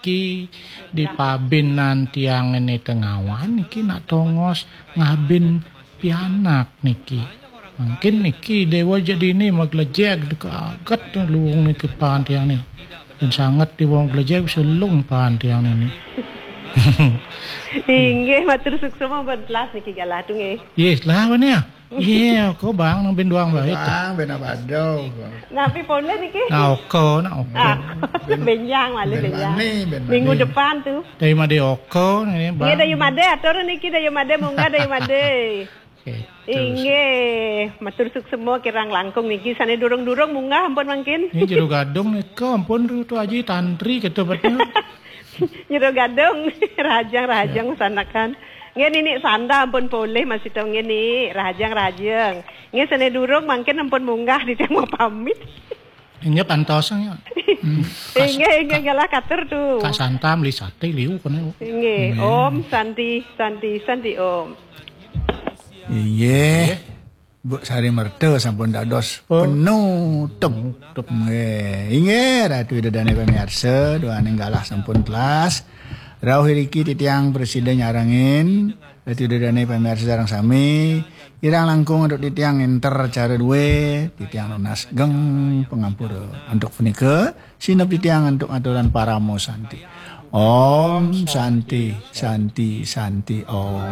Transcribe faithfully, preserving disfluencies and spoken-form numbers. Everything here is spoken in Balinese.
Ki di pabinan tiang ini tengawan niki nak tongos ngabin pianak niki. Mungkin niki dewa jadi ini maglejek dekaget luung niki pan tiang ni. Dan sangat di wong glejek selung pan tiang ini. Inggih, matur suksma, ampun telas niki galah tu nggih. Yes lah mana ya? Iya, kok bang nang bin doang baik. Bang bin apa dong? Napi poleh niki? Nah, oko, nah oko. Ah, benjang malih benjang. Minggu depan tu. Dari made oko nih, bang. Iya, dari made atur niki, dari made munggah, dari made. Inggih, matur suksma kirang langkung niki sane durung-durung munggah ampun mangkin. Ini jero gadung nika ampun tu aji tantri kita betul. Jero gadung rahajeng rahajeng sanakan. Nggih nini sanda ampun polih masih tau nggih ni rahajeng rahajeng. Nggih sane durung mangkin ampun munggah di temu pamit. Inggih pantos ya. Inggih inggih galah katur tu. Kak Santa meli sate liu kene. Inggih. Om Santi Santi Santi Om. Inggih. Bu Sari Merta sampun dados oh. Penutup. Inggih, Ratu Ida Dane pemirsa, doaning galah sampun telas. Rauh iriki titiang presida nyarengin Ratu Ida Dane pemirsa sareng sami. Kirang langkung untuk titiang enter cara duwe, titiang nunas geng pengampura. Untuk punika, sinep titiang untuk aturan paramo santi. Om Santi, Santi, Santi, Om.